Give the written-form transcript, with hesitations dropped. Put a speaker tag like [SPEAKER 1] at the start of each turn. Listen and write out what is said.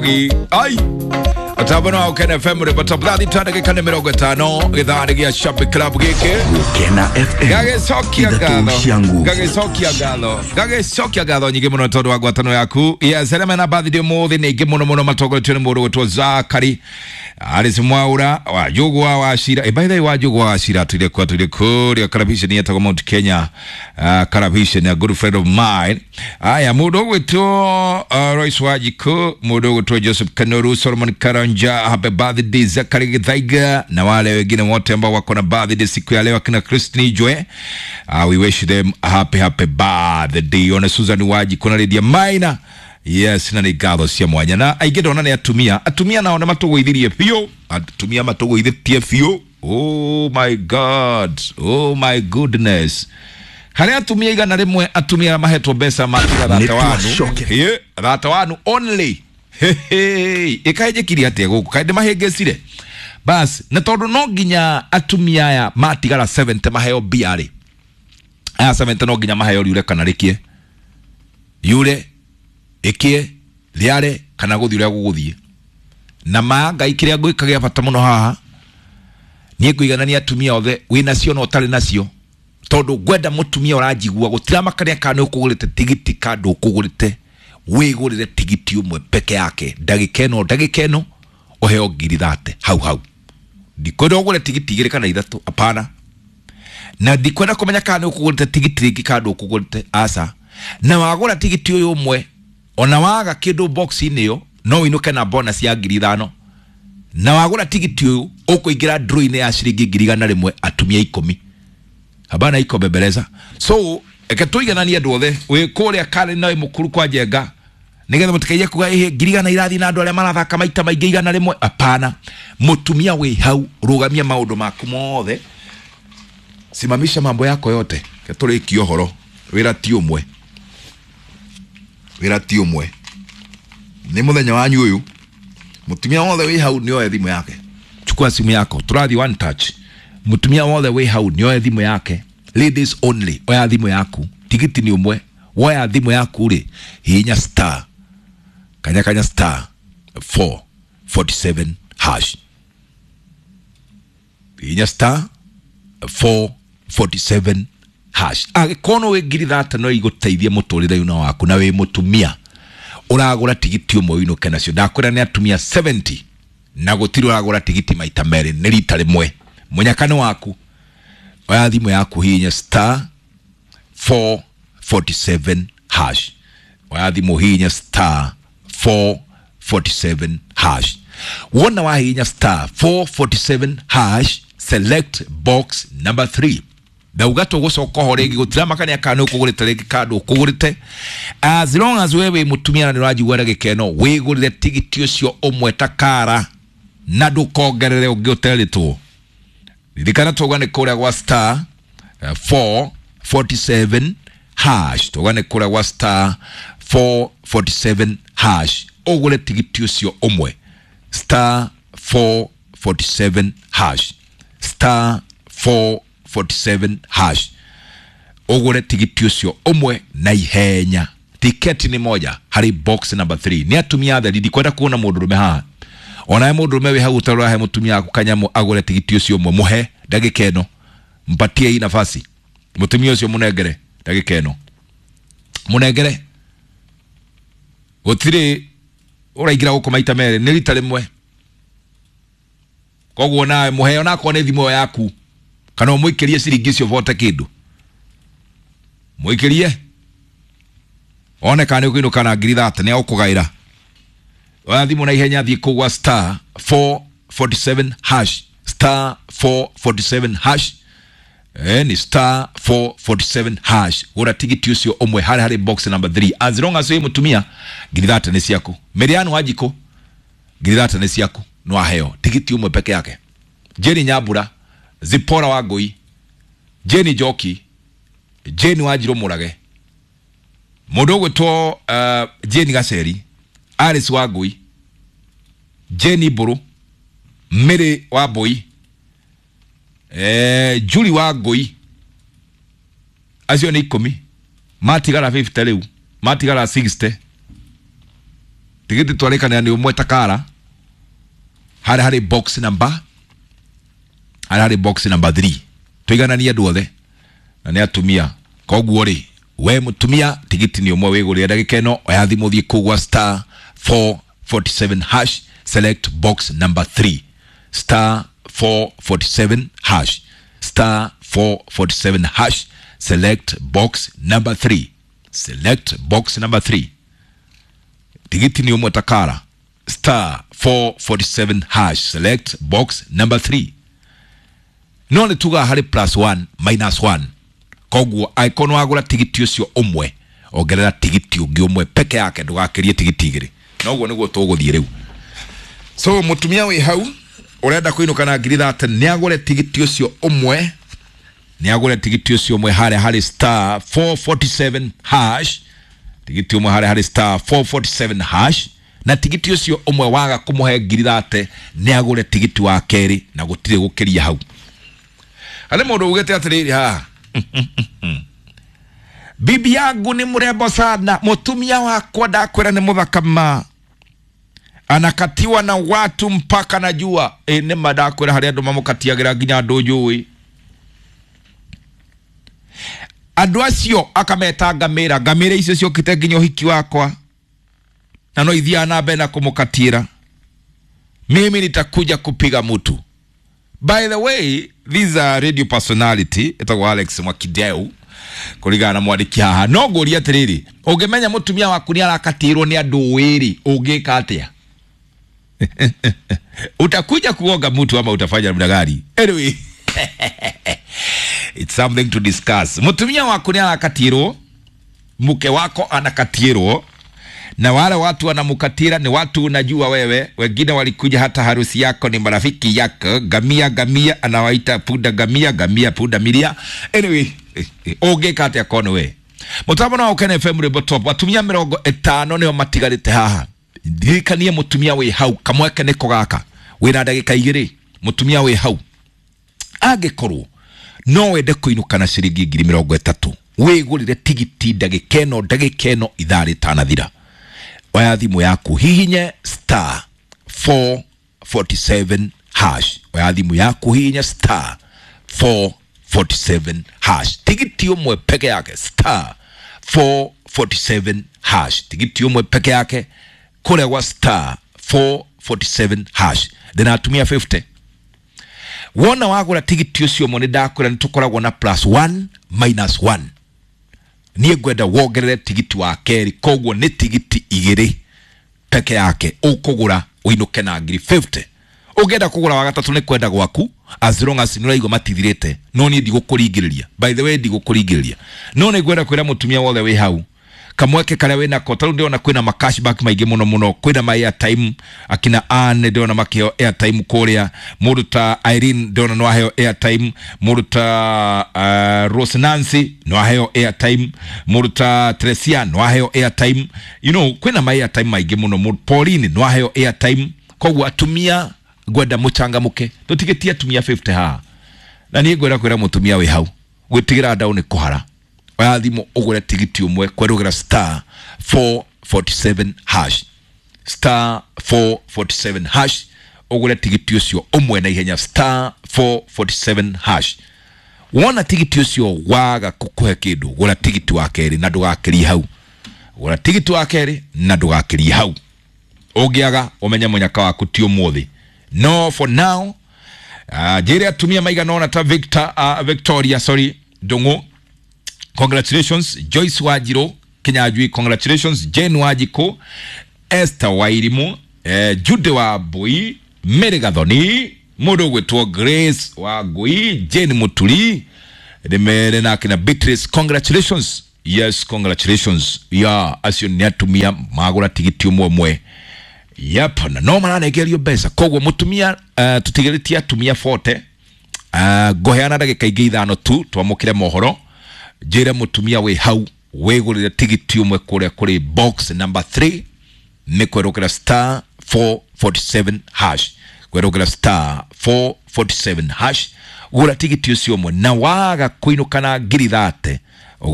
[SPEAKER 1] Ai atabano wa Ukena FM rĩbata thathi ta ndagĩka nĩ 50 gĩthaa nĩ gĩa Shabik Club gĩkĩ.
[SPEAKER 2] Ukena FM.
[SPEAKER 1] Gagĩcokia
[SPEAKER 2] Ithatũ
[SPEAKER 1] ngatho,
[SPEAKER 2] cia nguvu.
[SPEAKER 1] gagĩcokia ngatho, gagĩcokia ngatho nyingĩ mũno tondũ wa ngwatanĩro yaku. Yes, arĩa mena birthday ũmũthĩ nĩ aingĩ mũno mũno, matongoretio nĩ mũndũ gwĩtwo Zakari Alice Mwaura wa Njũgũa wa Cira. By the way, wa Njũgũa wa Cira atũire kũ? Atũire kũrĩa Karabisheni yetagwo Mount Kenya, Karabisheni, a good friend of mine. Aya, mũndũ ũgwĩtwo Royce Wanjikũ, mũndũ ũgwĩtwo Joseph Kanoru, Solomon Karanja, happy birthday Zakari Githaiga na wale wengine wote ambao wako na birthday siku ya leo, akina Christine Jwe, we wish them a happy happy birthday. Ona Susan Wanjikũ na Lydia Maina. Yes, na nĩ ngatho cia mwanya na aingĩ ndona nĩ atumia, atumia nao nĩ matũgũithirie biũ, atumia matũgũithĩtie biũ. Oh my God, oh my goodness, harĩ atumia 100, atumia arĩa mahetwo mbeca matiga thate wanu.
[SPEAKER 2] Nĩtwacoke.
[SPEAKER 1] Ĩ, thate wanu only. Ĩkaĩ njĩkire atĩa gũkũ, kaĩ ndĩmahĩngĩcire bas, na tondũ no nginya atumia aya matigara 70 maheo mbia rĩ, aya 70 no nginya maheo riure kana rĩkie, yure ĩkie rĩare kana gũthiĩ ũrĩa gũgũthiĩ. Na ma Ngai, kĩrĩa ngwĩka gĩa bata mũno haha, niĩ ngũiganania atumia othe, wĩ nacio na ũtarĩ nacio, tondũ ngwenda mũtumia ũranjigua gũtiramakania kana nĩ ũkũgũrĩte tigiti kana ndũkũgũrĩte, wĩgũrĩre tigiti ũmwe peke yake, ndagĩka ĩno, ndagĩka ĩno ũheo 30,000 hau hau. Ndikwenda ũgũre tigiti igĩrĩ kana ithatũ, apana. Na ndikwenda kũmenya kana nĩ ũkũgũrĩte tigiti rĩngĩ kana ndũkũgũrĩte, aca. Na wagũra tigiti ũyũ ũmwe, ona waga kĩndũ box-inĩ ĩyo, no ũinũke na bonus ya 5,000. Na wagũra tigiti ũyũ, ũkũingĩra draw-inĩ ya ciringi 100,000, atumia 10 habana iko bembeleza. So eke tũigananie andũ othe, wĩ kũrĩa Karen na wĩ mũkuru kwa Njenga, nigetha mũtikaige kuga ĩhĩ 100,000 irathiĩ na andũ arĩa marathaka maita maingĩ 100. Apana, mũtumia wĩ hau, rũgamia maũndũ maku mothe, simamisha mambo yako yote, ke tũrĩkie ũhoro. Wĩra ti ũmwe, wĩra ti ũmwe, nĩ mũthenya wanyu ũyũ. Mũtumia wothe wĩ hau nĩoe thimũ yake, chukua simu yako, tũrathiĩ one touch. Mũtumia wothe wĩ hau nĩoe thimũ yake, ladies only, oya thimũ yaku, tigiti nĩ ũmwe. Woya thimũ yaku rĩ, hihinya star kanya kanya star 447 hash, hihinya star 447 hash. Angĩkorwo no wĩ 30,000 no igũteithie mũtũrĩre-inĩ waku, na wĩ mũtumia ũragũra tigiti ũmwe ũinũke nacio. Ndakwĩra nĩ atumia 70 na gũtirĩ ũragũra tigiti maita merĩ, nĩ rita rĩmwe. Mũnyaka nĩ waku, oya thimũ yaku, hihinya star 447 hash. Oya thimũ, hihinya star 447 hash. Wona wahihinya star 447 hash, select box number 3. Ndauga tũgũcoka ho rĩngĩ, gũtiramakania kana nĩ ũkũgũrĩte rĩngĩ kana ndũkũgũrĩte, as long as we wĩ mũtumia na nĩ ũranjigua na gĩkeno, wĩgũrĩre tigiti ũcio ũmwe takara na ndũkongerere ũngĩ ũterĩtwo. Ririkana twauga nĩ kũrĩa gwa star 447 hash, twauga nĩ kũrĩa gwa star 447 hash, ũgũre tigiti ũcio ũmwe, star 447 hash, star 447 hash, ũgũre tigiti ũcio ũmwe na ihenya. Tiketi nĩ moja harĩ box number 3. Nĩ atumia atheri, ndikwenda kuona mũndũrũme haha. Onawe mũndũrũme wĩ hau ũtarora, he mũtumia waku kanyamũ agũre tigiti ũcio ũmwe, mũhe ndagĩka ĩno, mpatie hii nafasi, mũtumia ũcio mũnengere ndagĩka ĩno, mũnengere. Gũtirĩ ũraingĩra gũkũ maita merĩ, nĩ rita rĩmwe. Koguo nawe mũhe, onakorwo nĩ thimũ ĩyo yaku, kana ũmũikĩrie ciringi icio bote kĩndũ, mũikĩrie one kana nĩ ũkũinũka na 30,000, nĩ agũkũgaĩra. Oya thimũ na ihenya, thiĩ kũu gwa star 447 hash, star 447 hash. Ni star 447 hash, gũra tigiti ũcio ũmwe harĩ box number 3. As long as wĩ mũtumia, 30,000 nĩ ciaku. Mĩrĩanu Wanjikũ, 30,000 nĩ ciaku, no aheo tigiti ũmwe peke yake. Jeni Nyambura, Zipora wa Ngũi, Jeni Njoki, Jeni Wanjirũ Mũrage, mũndũ ũgwĩtwo Jeni Gaceri, Alice wa Ngũi, Jeni Mbũrũ, Mary wa Mbũi, Juli wa Ngũi, acio nĩ 10, matigara 50 rĩu, matigara 60. Tigiti twarĩkanĩra nĩ ũmwe takara harĩa harĩ box number, harĩa harĩ box number 3. Tũigananie andũ othe na nĩ atumia. Koguo rĩ, we mũtumia tigiti nĩ ũmwe wĩgũrĩre ndagĩka ĩno. Oya thimũ thiĩ kũu gwa star 447 hash, select box number 3. Star 447 hash, star 447 hash, select box number 3, select box number 3. Tigiti ni ũmwe takara, star 447 hash, select box number 3. No nĩ tugaga harĩ plus 1 minus 1. Koguo angĩkorwo nĩ wagũra tigiti ũcio ũmwe, ongerera tigiti ũngĩ ũmwe peke yake, ndũgakĩrie tigiti igĩrĩ. Noguo nĩguo tũgũthiĩ rĩu. So mũtumia wĩ hau ũrenda kũinũka na ngiri 30, nĩ agũre tigiti ũcio ũmwe, nĩ agũre tigiti ũcio ũmwe harĩa harĩ star 447 hash, tigiti ũmwe harĩa harĩ star 447 hash. Na tigiti ũcio ũmwe waga kũmũhe ngiri 30, nĩ agũre tigiti wa kerĩ na gũtirĩ gũkĩria hau. Harĩ mũndũ ugĩte atĩrĩrĩ haha, bibi yangu ni mrembo sana, mũtumia wakwa ndakwĩra nĩ mũthaka ma, anakatiwa na watu mpaka najua. E, nĩ ma ndakwĩra harĩ andũ mamũkatiagĩra nginya andũ njũĩ. Andũ acio akameta ngamĩra, ngamĩra icio ciokĩte nginya ũhiki wakwa na no ithiaga na mbere na kũmũkatiĩra. Mimi nitakuja kupiga mtu. By the way, this a radio personality etagwo Alex Mwakideu kũringana na mwandĩki haha. No ngũrie atĩrĩrĩ, ũngĩmenya mũtumia waku nĩ arakatĩrwo nĩ andũ wĩrĩ, ũngĩka atĩa? Utakuja kuonga mtu ama utafanya namna gani? Anyway, it's something to discuss. Mũtumia waku nĩ arakatĩrwo, mke wako anakatĩrwo, na wale watu wanamukatira ni watu unajua wewe. Wengine walikuja hata harusi yako, ni marafiki yako. Gamia gamia anawaita punda gamia gamia punda milia. Anyway, ũngĩka atĩa kono we? Mũtambo no Ũkene FM rwĩmbo top. Atumia 50 nĩo matigarĩte haha. Ndirikanie mũtumia wĩ hau, kamweke nĩko gaka, wĩna ndagĩka 2. Mũtumia wĩ hau, angĩkorwo no wende kũinũka na ciringi ngiri 30, wĩgũrĩre tigiti ndagĩka ĩno, ndagĩka ĩno ithaa rĩtanathira. Oya thimũ yaku, hihinye star 447 hash. Oya thimũ yaku, hihinye star 447 hash, tigiti ũmwe peke yake, star 447 hash, tigiti ũmwe peke yake kũrĩa gwa star 447 hash. Ndĩna atumia 50. Wona wagũra tigiti ũcio ũmwe, nĩ ndakwĩra nĩ tũkoragwo na plus 1 minus 1. Niĩ ngwenda wongerere tigiti wa kerĩ, koguo nĩ tigiti igĩrĩ peke yake ũkũgũra ũinũke na ngiri 50. Ũngĩenda kũgũra wa gatatũ nĩ kwenda gwaku, as long as nĩ ũraigua matithirĩte. No niĩ ndigũkũringĩrĩria, by the way, ndigũkũringĩrĩria. No nĩ ngwenda kwĩra mũtumia wothe wĩ hau, kamweke karĩa wĩnako, tarĩu ndĩrona kwĩna ma cashback maingĩ mũno mũno, kwĩna ma airtime. Akina Anne ndĩrona makĩheo airtime kũrĩa, mũndũ ta Irene ndĩrona no aheo airtime, mũndũ ta Rose Nancy no aheo airtime, mũndũ ta Tresia no aheo airtime. Kwĩna ma airtime maingĩ mũno mũno. Pauline no aheo airtime. Koguo atumia ngwenda mũcangamũke, tũtigĩtie atumia 50 haha. Na niĩ ngwenda kwĩra mũtumia wĩ hau, gwĩtigĩra ndau nĩ kũhara. Oya thimũ ũgũre tigiti ũmwe kwerũgĩra star 447 hash, star 447 hash, ũgũre tigiti ũcio ũmwe na ihenya, star 447 hash. Wona tigiti ũcio waga kũkũhe kĩndũ, gũra tigiti wa kerĩ na ndũgakĩrie hau. Gũra tigiti wa kerĩ na ndũgakĩrie hau. Ũngĩaga ũmenye mũnyaka waku ti ũmũthĩ. No for now, njĩre atumia maigana ũna ta Victor, Victoria, sorry, Ndung'u, congratulations. Joyce Wajiro Kinyanjui, congratulations. Jane Wajiko, Esther Wairimu, Jude wa Mbui, Mary Gathoni, mũndũ ũgwĩtwo Grace wa Ngui, Jane Muturi ndĩmere nake na Beatrice, congratulations. Yes, congratulations. Ya acio nĩ atumia magũra tigiti ũmwe ũmwe. Yep, na no maranengerio mbeca. Koguo mũtumia, tũtigĩrĩtie atumia 40. Ngũheana ndagĩka ingĩ 5 tu twamũkĩre mohoro. Njĩre mũtumia wĩ hau wĩgũrĩre tigiti ũmwe kũrĩa kũrĩ box number 3, nĩ kwerũkĩra star 447 hash, kwerũkĩra star 447 hash, gũra tigiti ũcio ũmwe na waga kũinũka na ngiri 30.